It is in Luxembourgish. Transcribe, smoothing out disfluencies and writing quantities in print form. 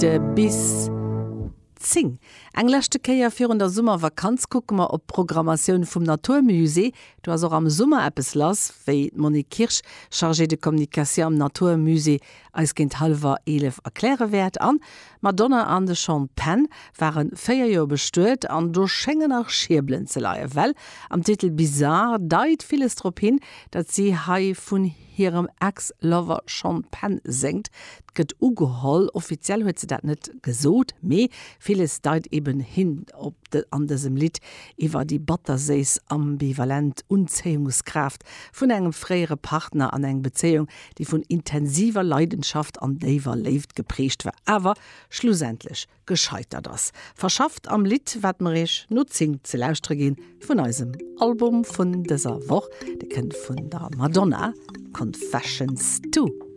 Bis 10. Eng leschte Kéier virun der Summervakanz kucke mer op d'Programmatioun vum Natur Musée. Do ass och am Summer eppes lass, wéi d'Monique Kirsch, Chargée de communication am Natur Musée, eis géint hallwer 11 erkläre wäert. An d'Madonna an de Sean Penn ware 4 Joer bestuet an do schéngen nach Schierbelen ze leien, well am Titel Bizarre deit villes drop hin, datt si hei vun hirem Ex-Lover Sean Penn séngt. 't gëtt ugeholl, offiziell huet se dat net gesot, mee villes deit eben hin op an dësem Lidd iwwer déi batterséiss ambivalent Unzéiungskraaft vun engem fréiere Partner an eng Bezéiung, déi vun intensiver Leidenschaft an déiwer Léift geprägt war, awer schlussendlech gescheitert ass. Verschafft am Lidd, wat mer iech no 10 ze lauschtere ginn vun eisem Album vun dëser Woch. Dee kënnt vun der Madonna, Confessions 2.